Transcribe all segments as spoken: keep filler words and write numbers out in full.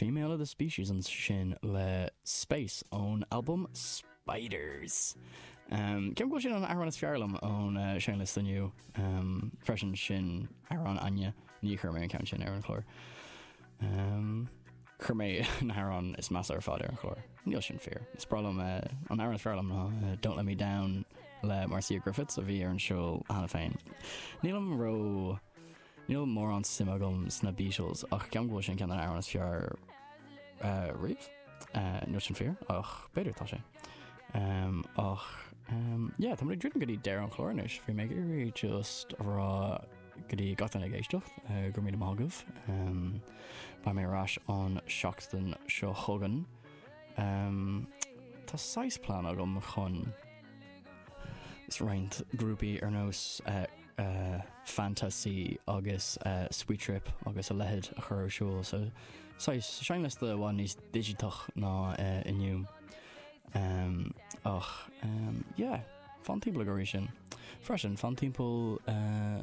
Female of the Species ansin le Space ón album Spiders. Um, Ceapaim go bhfuil sin an amhrán is fearr liom ón uh, seinnliosta inniu um, freisin sin amhrán Áine ní chuir mé an ceann sin ar an chlár. Um, Chuir mé an amhrán is measa ar fad ar an chlár. Níl sin fíor. Is breá liom uh, an amhrán is fearr liom ná uh, Don't Let Me Down le Marcia Griffiths a bhí ar an seó cheana féin. Nílim ró Níl mórán suim agam sna Beatles ach ceapaim go bhfuil sin ceann den amhrán is fearr uh, riamh. Uh, níl sin fíor ach b'fhéidir tá sé. Um, ach um, yeah, tá ag druidim go dtí deireadh an chlár anois, bhí mé ag iarraidh just a rá go dtí gach duine ag éisteacht uh, go raibh míle maith agaibh. Um, Beidh mé ar ais an seachtain seo chugainn. Um, tá saghas plean agam chun is roinnt grúpaí ar nós uh, uh, Fantasy agus uh, Sweet Trip agus a leithéid a chur ar siúl so saghas seinnliosta i bhfad níos digiteach ná uh, inniu. Um, ach um, yeah, fan timpeall go sin. Freisin fan timpeall uh,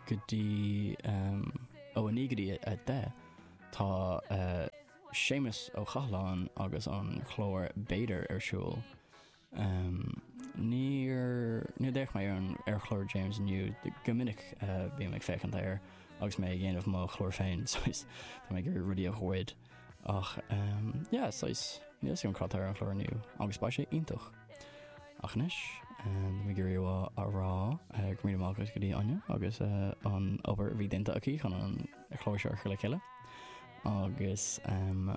go dtí um, ó a naoi go dtí a deich tá uh, Séamus Ó Chathalláin agus an chlár B'fhéidir ar siúl. Um, Níor ní d'fhéach mé ar an ar chlár James inniu go minic uh, bím ag féachaint air agus mé ag déanamh mo chlár féin tá mé ag rudaí a ghoid ach um, yeah, saghas níl an cad ar an chlár inniu agus beidh sé iontach. Ach anois um, ag iarraidh a rá uh, go míle maith go dtí Áine agus uh, an obair a bhí déanta aici chun an chlár seo a chur le chéile agus um,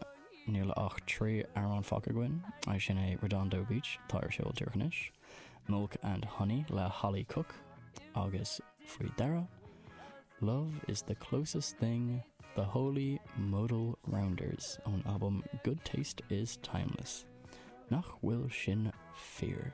níl ach trí amhrán fágtha againn é sin é Redondo Beach tá ar siúl anois, Milk and Honey le Holly Cook agus faoi dheireadh. Love is the closest thing the Holy Modal Rounders ón album Good Taste is Timeless. Nach bhfuil sin fíor.